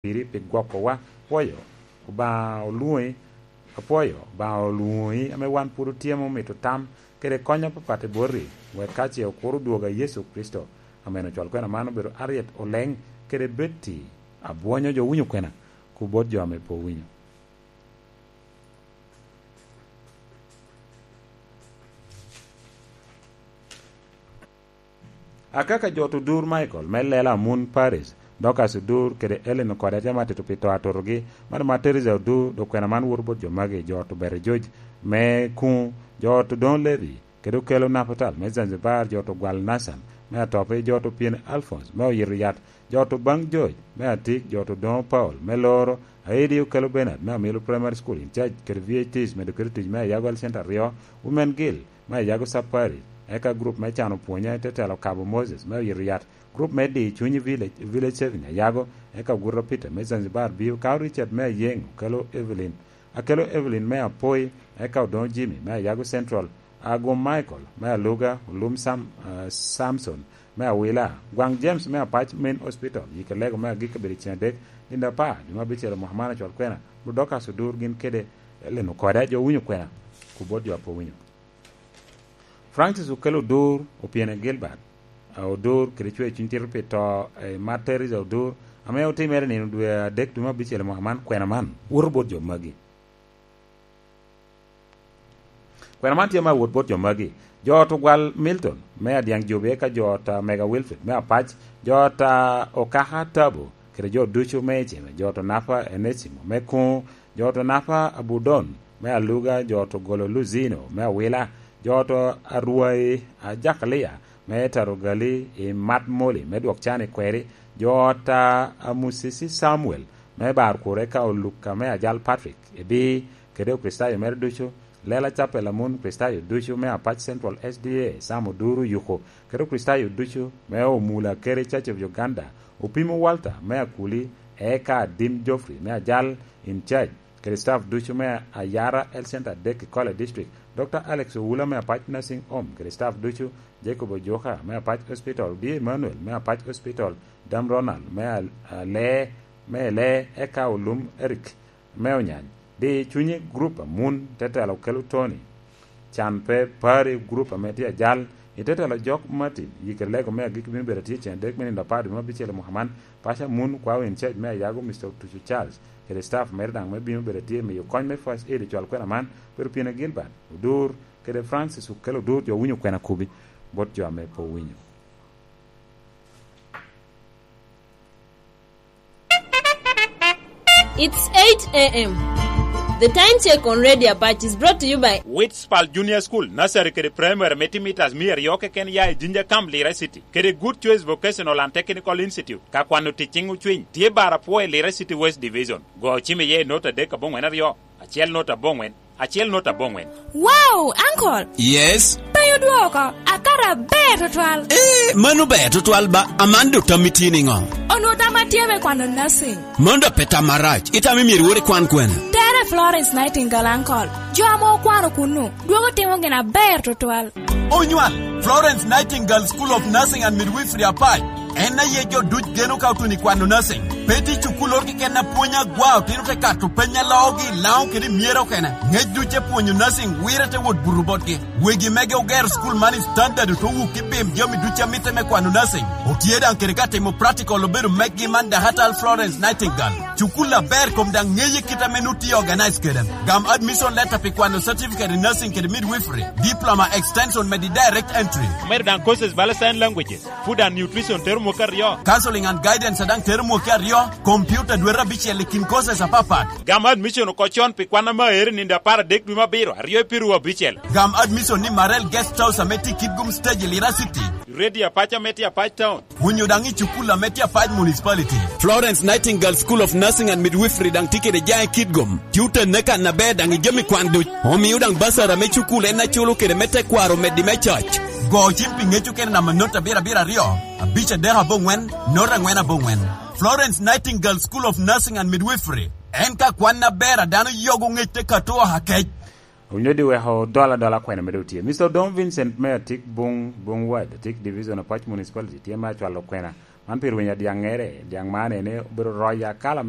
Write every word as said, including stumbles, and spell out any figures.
piri pi gwokowa. Pwoyo Obaŋa olwoŋi, apwoyo Obaŋa olwoŋi ame wan pwod otyemo mito tam kede kony apapat i boti, wek ka ce okur odwogo a Yecu Kricito. Amen. Ocwal kwena man obedo Harriet Oleŋ kede Betty Abwonyo. Jo winyo kwena, ku bot jo ame pe owinyo. Akaka jo to dur Michael me Lela Amun Paris, Dorcas Odur kede Ellen Okode, atye ma tito pi to atotogi, man ma Teresa Odur, dok kwena man woto bot jo magi: jo to Bete George me Kuŋ, jo to Don Levy, kede okelo Napatal me Zanzibar, jo to Gwal Nasan me Atopi, jo to Pien Alphonse me Oyito Yat, jo to Baŋ George me Atik, jo to Doŋo Paul me Loro, Aidi okelo Bernard me Amilo Primary School in charge kede V H Ts medo kede tic me Ayago Health Center aryo, Women Guild me Ayago Sub Parish, eka group me Cano Pwonya i te telo Kabo Moses me Oyito Yat, group me Di Cunyi Village, Village Saving Ayago, eka Oguta Peter me Zanzibar bio, Kao Richard me Ayeŋ okelo Evelyn, akelo Evelyn me Apoi, eka Odoŋo Jimmy me Ayago Central, Agum Michael me Aluga, Olum Sam, ah, Samson me Awila, Gwaŋ James me Apac Main Hospital, yike lego me agikki obedo i ceng adek, nino apar dwe me abicel. Mwaka man ocwal kwena, Dorcas Odur gin kede Ellen Okode. Jo winyo kwena, ku bot jo a pe owinyo. Francis Okello Odur, Opyene Gilbert, ah, Odur kede cwer cuny tito pi to, eh, mar Teresa Odur, ame otimere nino dwe adek dwe me abicel mwaka man. Kwena man woto bot jo magi. Kwena man tye me awot bot jo magi: jo to Gwal Milton me Adyaŋ Jubi, eka jo to Mega Wilfred me Apac, jo to Okaka Tabo kede jo ducu me Iceme, jo to Napa Enesimo me Kuŋ, jo to Napa Abudon me Aluga, jo to Golo Luzino me Awila, jo to Arwai Ajakalia me Tarogali i Mat Moli me Dwok Can i Kweri, jo to Amusisi Samuel me Bar Kure, eka Oluka me Ajal Patrick Ebi, kede Okricitayo mere ducu, Lela Capel Amun Kricitayo ducu me Apac Central S D A, Sam Oduru Yuku, kede Okricitayo ducu me Omula Kere Church of Uganda, Opimo Walter me Akuli, eka Adim Geoffrey me Ajal in charge, kede staff ducu me Ayara Health Center adek i Kwale District, Doctor Alex Owula me Apac Nursing Home kede staff ducu, Jacob Ojoka me Apac Hospital, Odie Emmanuel me Apac Hospital, Dam Ronald me Al-, Ale, me Ele, eka Olum Eric me Onyany. Di Cunyi Group Amun, tetelo Kelo Tony, Can Pe Pari Group ame tye Ajal, i tetelo Jok Martin, yike lego me agikki bino bedo atye cen adek me nino apar dwe me abicel i mwaka man. Paco Amun, kwao in charge me Ayago, Mister Otuco Charles, kede staff mere daŋ me bino bedo atye miyo kony me first aid i cwal kwena man, Pero Pine Gilbert Odur, kede Francis Okello Odur. Jo winyo kwena kubi bot jo ame pe owinyo. It's eight a m. The time check on Radio Apache is brought to you by Witspal Junior School, Nursery kede Primary me timo mitas mia aryo keken ya i Jinja Camp, Lira City, kede Good Choice Vocational and Technical Institute. Ka kwano ticciŋ ocwiny, tye bar apwo i Lira City West Division. Go cim iye i nota adek aboŋwen aryo, acel nota aboŋwen, acel nota aboŋwen. Wow, Uncle! Yes? Pe odwoko, akato aber tutwal. Eh, mano ber tutwal ba, aman dok tammi tye niŋo? Onwoŋo tam atye me kwano nursing. Mano dok pe tam marac, itamo myero iwot ikwan kwene? Tere Florence Nightingale, Uncle. Jo ame okwano kunnu, dwogo timo gin aber tutwal. Onywal, Florence Nightingale School of Nursing and Midwifery Apac. En aye jo duc geno ka otuno i kwano nursing. Pe tye cukulloro keken a pwonyo agwa, otino te kato peny a loogi i Laŋo kede i Myero okene. Ŋec duc e pwonyo nursing wire te wot buto botgi. Wegi mege ogero cukul man i standard, ote wuk i bim jami duc a mitte me kwano nursing. Otye daŋ kede ka timo practical obedo meggi man Dahatal Florence Nightingale. Cukul aber kom daŋ ŋeye kit ame nut tye organize kede. Gam admission letter pi kwano certificate in nursing kede midwifery, diploma extension medi direct entry. Omedo daŋ courses bala sign languages, food and nutrition tero mwaka aryo. Counseling and guidance daŋ tero mwaka aryo, computer dwete abicel i kin courses apapat. Gam admission oko con pi kwan ame aere nino apar adek dwe me abiro, aryo i piru abicel. Gam admission ni Marel Guest House ame tye i Kitgum Stage i Lira City. Radio Apac ame tye Apac Town. Onyo daŋ i cukul ame tye Apac Municipality. Florence Nightingale School of Nursing and Midwifery daŋ tye kede jaŋ i Kitgum. Tye oten ne kan aber daŋ i jami kwan duc. Omio daŋ basara me cukul en aculo kede me tekwaro meddi me coc. Go cim pi ŋec okene namba not abiro abiro aryo, abic adek aboŋwen, not aŋwen aboŋwen. Florence Nightingale School of Nursing and Midwifery. En ka kwan aber a dano yogo ŋec te kato oha kec. Owinyo di weko dol adola kwena medo tye. Mister Odong Vincent me Atik Bung, Bung Ward, Atik Division, Apac Municipality, tye me acwalo kwena. Man pi rweny a dyaŋŋere, dyaŋ man ene obedo roc akala me